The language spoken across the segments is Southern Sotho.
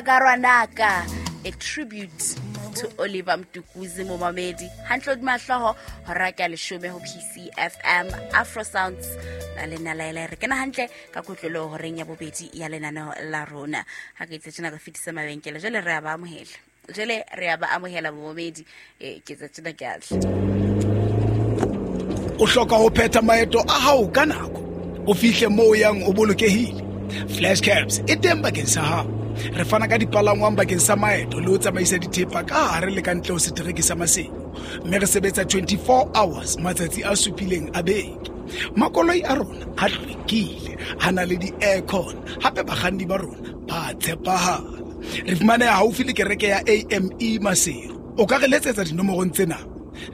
Karwanaka, a tribute to Oliver Mtukudzi momamedi. Hantle hodima hlooho hora ke ya leshome ho PCFM Afro Sounds na le nna laela re kena hantle ka kotlolo horeng ya bobedi ya lenaneo la rona. Ha ke itse tjena re fetisa mabenkele, jwale re a ba amohela, jwale re a ba amohela momamedi. Ke tse tjena ke a tla. O hloka ho phetha maeto a hao ka nako, o fihle moo o yang o bolokehile. Flash Cabs e teng bakeng sa hao. Re fana ka dipalangwang bakeng sa maeto le ho tsamaisa dithepa ka hare le ka ntle ho setereke sa Maseru, mme re sebetsa 24 hours matsatsi a supileng a beke. Makoloi a rona a hlwekile, a na le di-aircon, hape bakganni ba rona ba tshepahala. Re fumaneha haufi le kereke ya AME Maseru. O ka re letsetsa dinomorong tsena: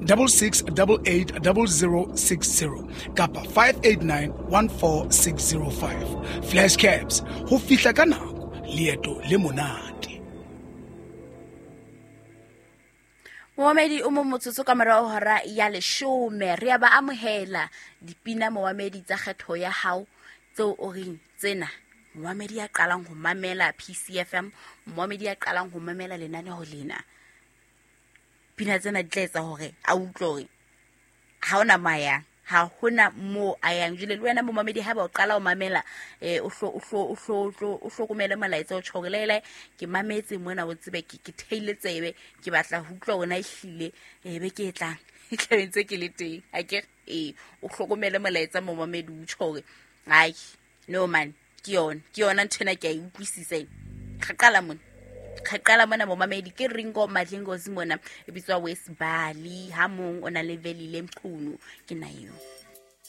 66880060 kapa 58914605. Flash Cabs, ho fihla ka nako, leeto le monate. Momamedi o mong motsotso ka morao hora ya leshome, re ya ba amohela dipina momamedi tsa kgetho ya hao tseo o reng tsena. Momamedi ya qalang ho mamela PCFM, momamedi ya qalang ho mamela lenaneo lena, pina tsena di tla etsa hore a utlwe hore ha ona mo a yang, ha hona mo a yang. Jwale le wena momamedi, haeba o qala ho mamela, o hlokomele molaetsa o tjho hore lele ke mametse mona, o tsebe ke theile tsebe, ke batla ho utlwa hore na ehlile, be ke e tlang e tlabe ntse ke le teng. Ha ke re, o hlokomele molaetsa momamedi, o tjho hore ai no man, ke yona, ke yona ntho ena, ke a e utlwisisa ena. Re qala mona, re qala mona momamedi, ke Ringo Madlingozi mona, e bitswa West Bali, ha mong o na le Velile Mchunu, ke na eo.